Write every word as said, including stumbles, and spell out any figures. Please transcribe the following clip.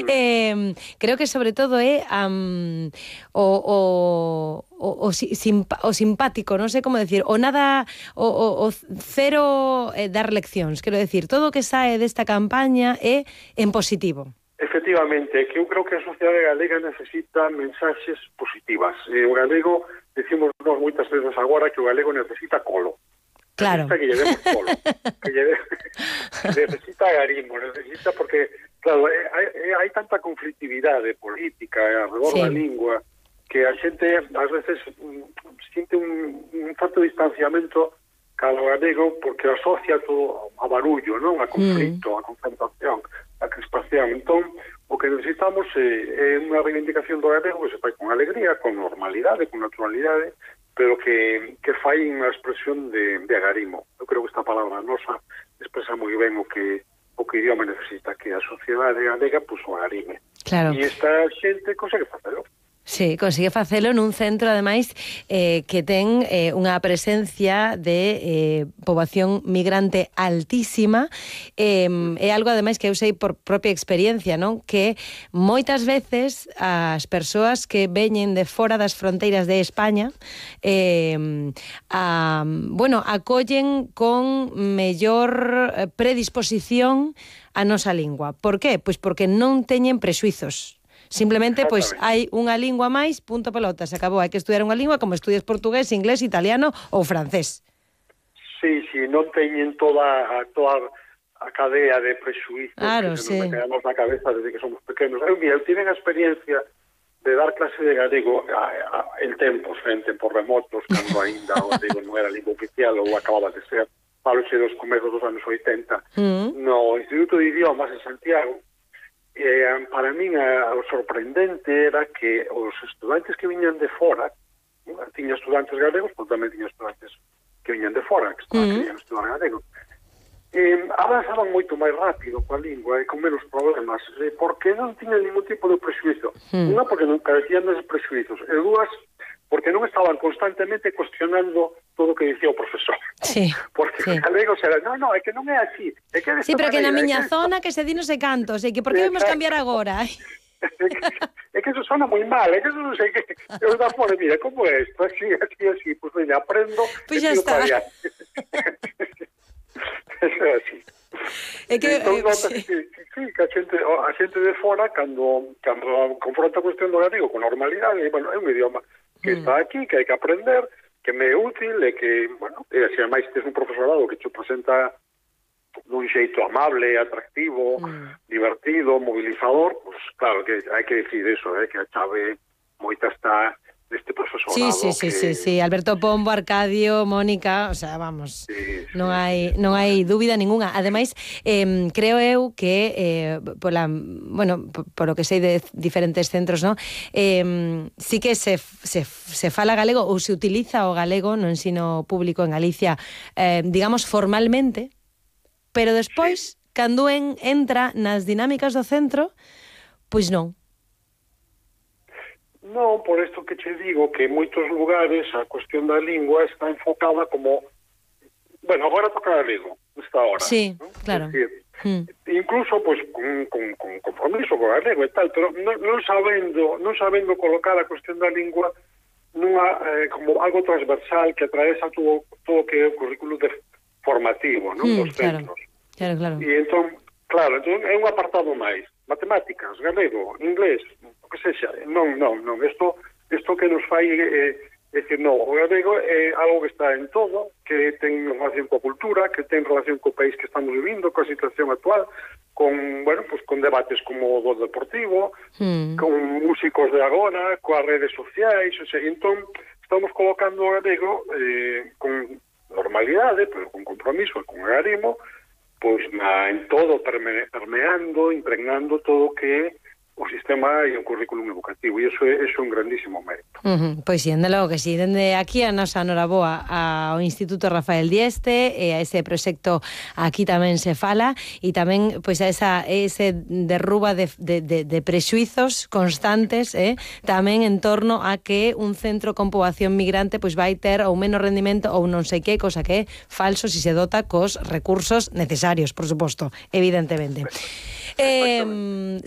eh, creo que sobre todo é um, o, o, o, o, simpa, o simpático, non sei como decir, o nada, o, o, o cero eh, dar leccións, quero decir, todo o que sae desta campaña é en positivo. Efectivamente, que eu creo que a sociedade galega necesita mensaxes positivas. E o galego, decimos nós moitas veces agora que o galego necesita colo. Claro. Necesita que lle demos colo. que lle de... necesita agarimo, necesita porque, claro, hai, hai tanta conflictividade política alrededor sí. da lingua que a xente, ás veces, siente un, un certo distanciamento calo galego porque asocia todo a barullo, non? A conflito, mm. a confrontación, a crispación. Entón, o que necesitamos é, é unha reivindicación do galego que se fai con alegría, con normalidade, con naturalidade, pero que, que fai unha expresión de, de agarimo. Eu creo que esta palabra nosa expresa moi ben o que o que o idioma necesita, que a sociedade galega pues, o agarime. Claro. E esta xente consegue facelo. Sí, consigue facelo nun centro, ademais, eh, que ten eh, unha presencia de eh, poboación migrante altísima. Eh, é algo, ademais, que eu sei por propia experiencia, non? Que moitas veces as persoas que veñen de fora das fronteiras de España eh, a, bueno, acollen con mellor predisposición a nosa lingua. Por qué? Pois porque non teñen prexuizos. Simplemente, pois, hai unha lingua máis, punto pelota, se acabou. Hai que estudiar unha lingua como estudias portugués, inglés, italiano ou francés. Sí, sí, non teñen toda a, toda a cadea de prexuizos claro, que sí. nos quedamos na cabeza desde que somos pequenos. Eu, mira, eu tive a experiencia de dar clase de galego a, a, en tempos, en tempos remotos, cando ainda o galego non era lingua oficial ou acababa de ser, falo xe dos comezos dos anos oitenta, mm. no Instituto de Idiomas en Santiago. Eh, para min a, o sorprendente era que os estudantes que viñan de fora, tiña estudantes galegos, pero tamén tiña estudantes que viñan de fora, que estaban, mm. querían estudar galego, eh, avanzaban moito máis rápido coa lingua e con menos problemas, eh, porque non tiñan ningún tipo de prexuizo. Mm. Unha, porque non carecían deses prexuizos, e dúas, porque non estaban constantemente cuestionando todo o que dicía o profesor. Sí, porque sí. os galegos eran, no, no, é que non é así. É que sí, pero que na miña que zona que se di non sei cantos, e que por que vamos cambiar agora? é, que, é que eso sona moi mal, é que eso non sei que... Eu da fora, mira, como é isto? Así, así, así, pues veña, aprendo... Pois pues ya está. Eso é así. É que... Entón, eh, sí. Que, sí, que a xente, a xente de fora, cando, cando confronta a cuestión do galego con normalidade, bueno, é un idioma que mm. está aquí, que hai que aprender, que me é útil e que, bueno, e se máis tes un profesorado que te presenta dun xeito amable, atractivo, mm. divertido, movilizador, pues claro que hai que decir eso, eh, que a chave moita está neste profesorado. Sí, sí, sí, que... sí, sí, Alberto Pombo, Arcadio, Mónica, o sea, vamos, sí, non hai non hai dúbida ninguna. Ademais, eh, creo eu que eh, pola, bueno, por lo que sei de diferentes centros, ¿no? Eh, sí que se, se, se fala galego ou se utiliza o galego no ensino público en Galicia, eh, digamos, formalmente, pero despois, sí. cando en, entra nas dinámicas do centro, pois non. Non, por isto que che digo, que en moitos lugares a cuestión da lingua está enfocada como... Bueno, agora toca galego, esta hora. Sí, ¿no? Claro. Es decir, mm. incluso, pues, con, con, con compromiso con galego e tal, pero non, non sabendo non sabendo colocar a cuestión da lingua nunha, eh, como algo transversal que atravesa todo, todo que é o currículo de formativo, non? Mm, dos centros. Claro, claro. E entón, claro, entón é un apartado máis. Matemáticas, galego, inglés, o que sexa. Non, non, non. Isto, isto que nos fai é, é decir, non, o galego é algo que está en todo, que ten relación coa cultura, que ten relación co país que estamos vivindo, coa situación actual, con, bueno, pues con debates como o do deportivo, mm. con músicos de agora, coas redes sociais, o sea, entón estamos colocando o galego eh, con normalidade, pero con compromiso e con agarimo, pois na, en todo, perme, permeando, impregnando todo o que é o sistema e o currículum educativo, e iso é, iso é un grandísimo mérito. Uh-huh. Pois sí, dende logo que sí, dende aquí a nosa noraboa ao Instituto Rafael Dieste e a ese proxecto aquí tamén se fala, e tamén pois a esa ese derruba de, de, de, de prexuizos constantes, eh? tamén en torno a que un centro con poboación migrante pois vai ter ou menos rendimento ou non sei que, cosa que é falso se se dota cos recursos necesarios, por suposto, evidentemente. Eh,